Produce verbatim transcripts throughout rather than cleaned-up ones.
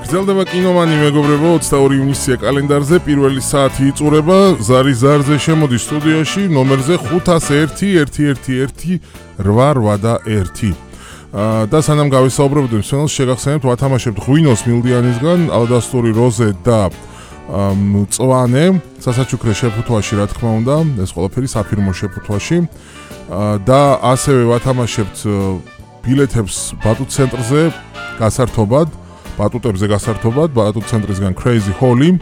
გრძელდება კინომანი მეგობრებო, ოცდაორი ივნისია კალენდარზე, პირველი საათი იწურება, ზარი ზარზე შემოდის სტუდიაში ნომერზე ხუთას ერთი ერთი ერთი ერთი რვა რვა და ერთი. და სანამ გავისაუბრებთ მსმენელს, შეგახსენებთ ვათამაშებთ ღვინოს მილდიანისგან, ალადასტური როზე და მწვანე, სასაჩუქრე შეფუთვაში რა თქმა უნდა, ეს ყველაფერი საფირმო შეფუთვაში. და ასევე ვათამაშებთ ბილეთებს ბატუტ ცენტრზე გასართობად, ბატუტებზე გასართობად, ბატუტ ცენტრისგან Crazy Holly,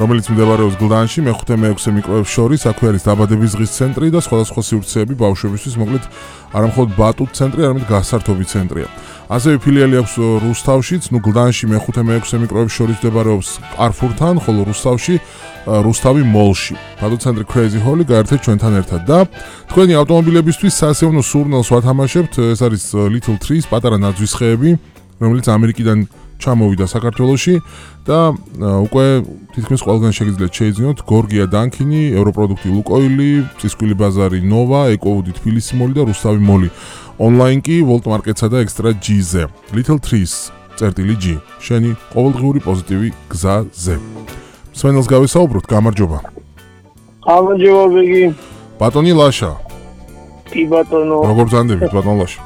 რომელიც მდებარეობს გლდანში, მეხუთე მეექვსე მიკროებს შორის, აქვე არის დაბადების დღის ცენტრი და სხვადასხვა სივრცეები ბავშვებისთვის, მოკლედ არა მხოლოდ ბატუტ ცენტრი, არამედ გასართობი ცენტრია. ასევე ფილიალი აქვს რუსთავშიც, ნუ გლდანში მეხუთე მეექვსე მიკროებს შორის მდებარეობს Carrefour-თან, ხოლო რუსთავში რუსთავი მოლში. ბატუტ ცენტრი Crazy Holly გაერთეთ ჩვენთან ერთად და თქვენი ავტომობილებისთვის სასიამოვნო სურნელს ვათამაშებთ, ეს არის Little Trees, პატარა ნაძვის ხეები, რომელიც ამერიკიდან ჩამოვიდა საქართველოში და უკვე თითქმის ყველგან შეგიძლიათ შეიძინოთ გორგია დანქინი, ევროპროდუქტი ლუკოილი, წისქვილი ბაზარი ნოვა, ეკოუდი თბილისი მოლი და რუსთავი მოლი. ონლაინ კი Volt Market-სა და Extra G-ზე. Little Trees წერტილი G. შენი ყოველდღიური პოზიტივი გზაზე. მსმენელს გავისაუბროთ, გამარჯობა. გამარჯობა ბიგი. ბატონი ლაშა. კი ბატონო. როგორ ბრძანდებით ბატონ ლაშა?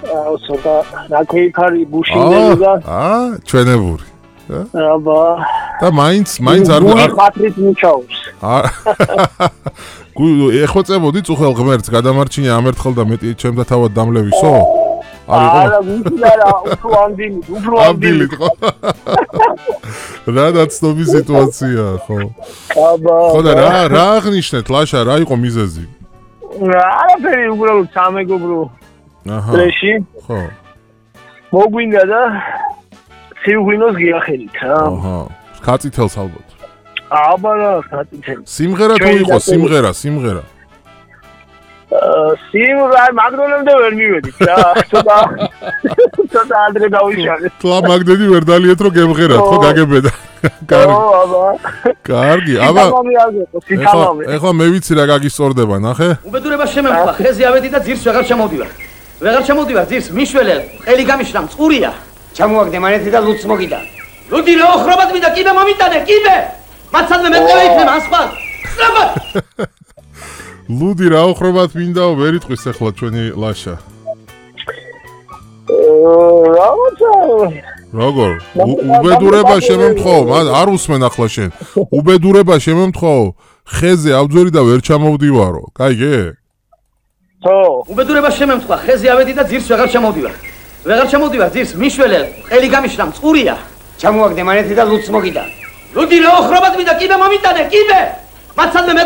აუ ცოტა რაკეიქარი ბუშინდები და აა ჩვენებური. აბა. და მაინც მაინც არ არ ხათრით მუჩაობს. ეხვეწებოდი წუხელ ღმერთს გადამარჩინე ამერთხელ და მეტი ჩემთა თავად დამლევისო? არა, მისლარა, უფრო ამდილი, უფრო ამდილი. რა დაცნობი სიტუაცია, ხო? აბა. ხო და რა რა აღნიშნეთ ლაშა, რა იყო მიზეზი? არაფერი, უბრალოდ სამეგობრო. აჰა. ტრეში. ხო. მოგვინდა და სიუღვინოს გიახელით რა. აჰა. ხაწითელს ალბათ. აბა რა, ხაწითელს. სიმღერა თუ იყო, სიმღერა, სიმღერა. სიმღერა მაგდონემდე ვერ მივედით რა. ცოტა ცოტა ადრე გავიშალე. თლა მაგდენი ვერ დალიეთ რომ გემღერათ, ხო გაგებედა. კარგი. ო, აბა. კარგი, აბა. სიტამამი. ეხლა მე ვიცი რა გაგისწორდება, ნახე? უბედურება შემემხვა, ხეზე ავედი და ძირს ვეღარ ჩამოვდივარ. ვეღარ ჩამოვდივარ ძირს, მიშველე, ყელი გამიშრა, მწყურია. ჩამოვაგდე მანეთი და ლუდს მოგიდა. ლუდი რა ოხრობად მინდა, კიბე მომიტანე, კიბე! მაცადმე მეტყევე იქნება, ასხვა. სწრაფად! ლუდი რა ოხრობად მინდაო, ვერ იტყვის ახლა ჩვენი ლაშა. რაღაცა როგორ? უბედურება შემემთხოვო, არ უსმენ ახლა შენ. უბედურება შემემთხოვო, ხეზე ავძვერი და ვერ ჩამოვდივარო. კაიგე? ხო. უბედურება შემემხვა, ხეზე ავედი და ძირს ვეღარ ჩამოვდივარ. ვეღარ ჩამოვდივარ ძირს, მიშველე, ყელი გამიშრა, მწყურია. ჩამოვაგდე მანეთი და ლუდს მოგიდა. ლუდი რა ოხრობად მინდა, კიბე მომიტანე, კიბე! მაცადმე